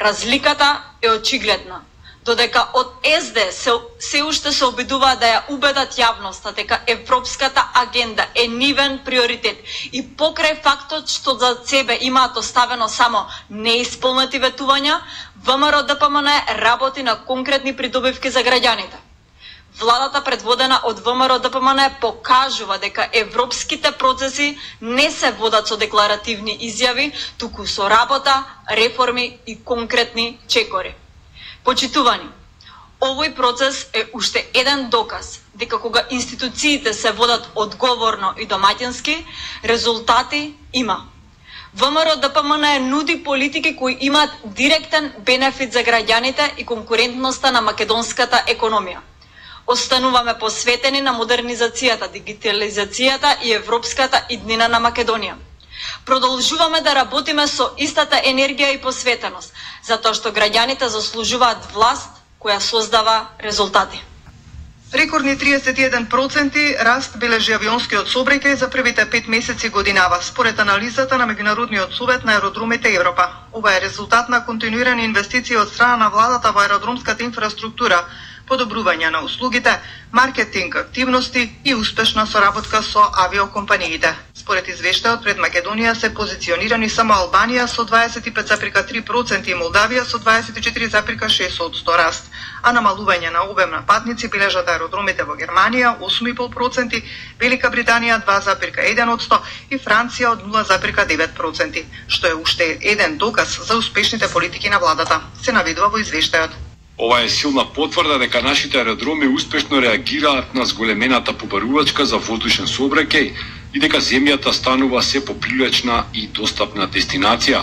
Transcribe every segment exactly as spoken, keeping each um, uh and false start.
Разликата е очигледна. Додека од Ес Де се, се уште се обидуваат да ја убедат јавноста дека европската агенда е нивен приоритет и покрај фактот што за себе имаат оставено само неисполнети ветувања, ВМРО Д П М Н работи на конкретни придобивки за граѓаните. Владата предводена од ВМРО Д П М Н покажува дека европските процеси не се водат со декларативни изјави, туку со работа, реформи и конкретни чекори. Почитувани, овој процес е уште еден доказ дека кога институциите се водат одговорно и домаќински, резултати има. ВМРО Д П М Н нуди политики кои имаат директен бенефит за граѓаните и конкурентноста на македонската економија. Остануваме посветени на модернизацијата, дигитализацијата и европската иднина на Македонија. Продолжуваме да работиме со истата енергија и посветеност, затоа што граѓаните заслужуваат власт која создава резултати. Рекордни триесет и еден проценти раст бележи авионскиот сообраќај за првите пет месеци годинава, според анализата на Меѓународниот совет на аеродромите Европа. Ова е резултат на континуирани инвестиции од страна на владата во аеродромската инфраструктура, подобрување на услугите, маркетинг активности и успешна соработка со авиокомпаниите. Според извештајот, пред Македонија се позиционирани само Албанија со дваесет и пет зарем три проценти и Молдавија со дваесет и четири зарем шест проценти раст, а намалување на обем на патници бележат аеродромите во Германија осум и пет проценти, Велика Британија два зарем еден проценти и Франција од нула зарем девет проценти, што е уште еден доказ за успешните политики на владата, се наведува во извештајот. Ова е силна потврда дека нашите аеродроми успешно реагираат на зголемената побарувачка за воздушен сообраќај и дека земјата станува се попривлечна и достапна дестинација.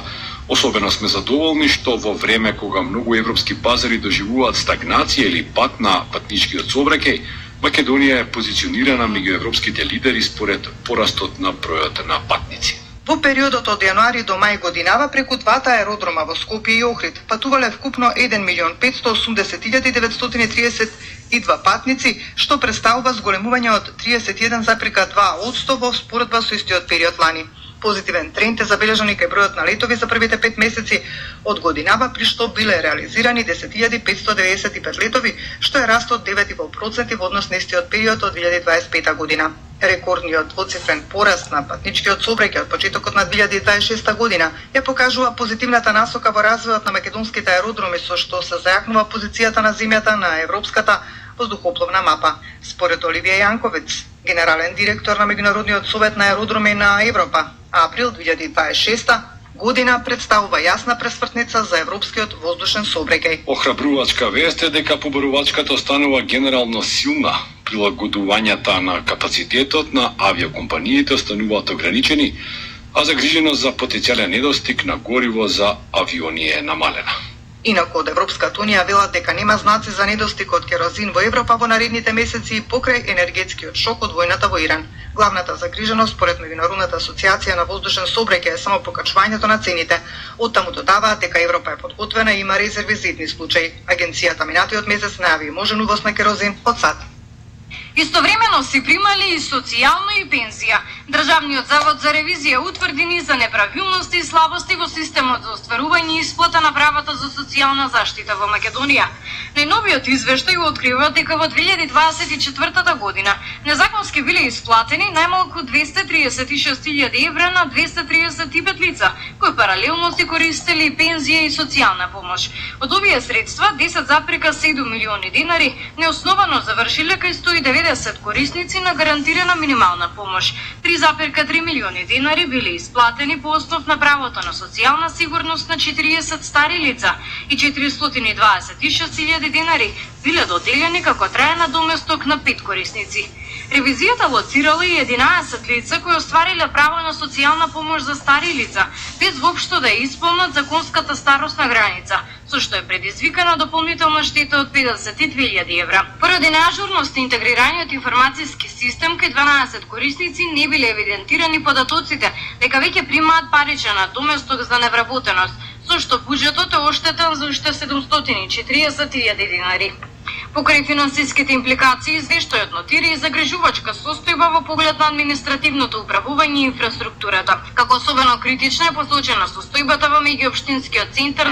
Особено сме задоволни што во време кога многу европски пазари доживуваат стагнација или пат на патничкиот сообраќај, Македонија е позиционирана меѓу европските лидери според порастот на бројот на патници. Во периодот од јануари до мај годинава преку двата аеродрома во Скопје и Охрид патувале вкупно еден милион петстотини и осумдесет илјади деветстотини и триесет и два патници, што представува зголемување од триесет и еден зарем два проценти во споредба со истиот период лани. Позитивен тренд е забележан и кај бројот на летови за првите пет месеци од годинава, при што биле реализирани десет илјади петстотини деведесет и пет летови, што е раст од девет и пет проценти во однос на истиот период од две илјади дваесет и пета година. Рекордниот двоцифрен пораст на патничкиот сообраќај од почетокот на две илјади дваесет и шеста година ја покажува позитивната насока во развојот на македонските аеродроми, со што се зајакнува позицијата на земјата на европската воздухопловна мапа. Според Оливија Јанковиц, генерален директор на Меѓународниот совет на аеродроми на Европа, април две илјади дваесет и шеста година представува јасна пресвртница за европскиот воздушен сообраќај. Охрабрувачка вест е дека побарувачката останува генерално силна. Прилагодувањата на капацитетот на авиокомпаниите остануваат ограничени, а загриженост за потенцијален недостиг на гориво за авиони е намалена. Инаку од Европската Унија велат дека нема знаци за недостиг од керозин во Европа во наредните месеци покрај енергетскиот шок од војната во Иран. Главната загриженост според Меѓународната асоциација на воздушен сообраќај е само покачувањето на цените. Оттаму додаваат дека Европа е подготвена и има резерви за итни случаи. Агенцијата минатиот месец најави можен увоз на керозин од САД. Истовремено се примали и социјално и пензија. Државниот завод за ревизија утврди низ за неправилности и слабости во системот за остварување и исплата на правата за социјална заштита во Македонија. Најновиот извештај открива дека во две илјади дваесет и четвртата година незаконски биле исплатени најмалку двесте триесет и шест илјади евра на двесте триесет и пет лица, кои паралелно си користели пензија и социјална помош. Од овие средства десет зарем седум милиони денари неосновано завршиле кај сто и деветдесет корисници на гарантирана минимална помош. три зарем три милиони денари биле исплатени по основ на правото на социјална сигурност на четириесет стари лица и четиристотини и дваесет и шест илјади денари биле доделени како трајна доместок на пет корисници. Ревизијата лоцирала и единаесет лица кои оствариле право на социјална помош за стари лица, без воопшто да ја исполнат законската старосна граница, со што е предизвикана дополнителна штета од педесет и две илјади евра. Поради неажурност и интегрираниот информацијски систем кај дванаесет корисници не биле евидентирани податоците дека веќе примаат паричен доместок за невработеност, со што буџетот е оштетен за уште седумстотини и четириесет илјади денари. Покрај финансиските импликации, извештајот нотира и загрижувачка состојба во поглед на административното управување и инфраструктурата. Како особено критична е посочена состојбата во меѓуопштинскиот центар